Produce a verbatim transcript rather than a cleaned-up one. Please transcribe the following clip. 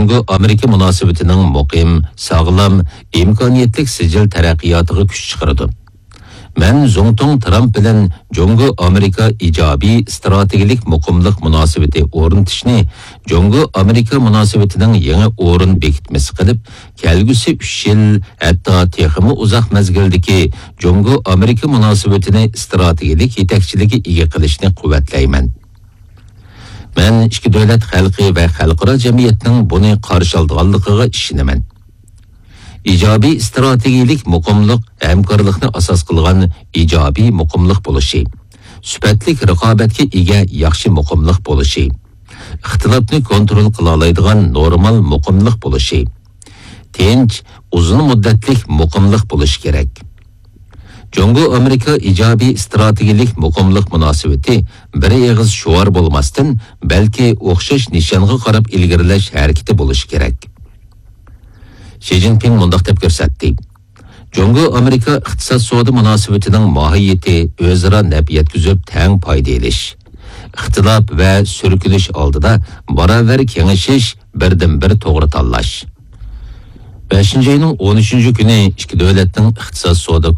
جۇڭگو ئامېرىكا مۇناسىۋىتىنىڭ مۇقىم، ساغلام، ئىمكانىيەتلىك سىجىل تەرەققىياتىغا كۈچ چىقىرىدۇ. مەن زۇڭتۇڭ ترامپ بىلەن جۇڭگو ئامېرىكا ئىجابىي ئىستراتېگىيەلىك مۇقىملىق مۇناسىۋىتى ئورنىتىشنى جۇڭگو ئامېرىكا مۇناسىۋىتىنىڭ يېڭى ئورۇن بېكىتمىسى قىلىپ، كەلگۈسى ئۈچ يىل، ھەتتا تېخىمۇ ئۇزاق مەزگىلدىكى جۇڭگو ئامېرىكا مۇناسىۋىتىنى ئىستراتېگىيەلىك يېتەكچىلىككە ئىگە قىلىشنى قۇۋۋەتلەيمەن. مەن ئىككى دۆلەت خەلقى ۋە خەلقئارا جەمئىيەتنىڭ بۇنى قارشى ئالىدىغانلىقىغا ئىشىنىمەن. ئىجابىي ئىستراتېگىيەلىك مۇقىملىق ھەمكارلىقنى ئاساس قىلغان ئىجابىي مۇقىملىق بولۇشى، سۈپەتلىك رىقابەتكە ئىگە ياخشى مۇقىملىق بولۇشى، ئىختىلاپنى كونترول قىلالايدىغان نورمال مۇقىملىق بولۇشى، تىنچ، ئۇزۇن مۇددەتلىك مۇقىملىق بولۇشى كېرەك. جۇڭگو ئامېرىكا ئىجابىي ئىستراتېگىيەلىك مۇقىملىق مۇناسىۋىتى بىر ئېغىز شوئار بولماستىن، بەلكى ئوخشاش نىشانغا قاراپ ئىلگىرىلەش ھەرىكىتى بولۇشى كېرەك. شى جىنپىڭ مۇنداق دەپ كۆرسەتتى: جۇڭگو ئامېرىكا ئىقتىساد سودا مۇناسىۋىتىنىڭ ماھىيىتى ئۆزئارا نەپ يەتكۈزۈپ تەڭ پايدا ئېلىش، ئىختىلاپ ۋە سۈركىلىش ئالدىدا باراۋەر كېڭىشىش، بىردىنبىر توغرا تاللاش. بەشىنچى ئاينىڭ ئون ئۈچىنچى كۈنى ئىككى دۆلەتنىڭ ئىقتىساد سودا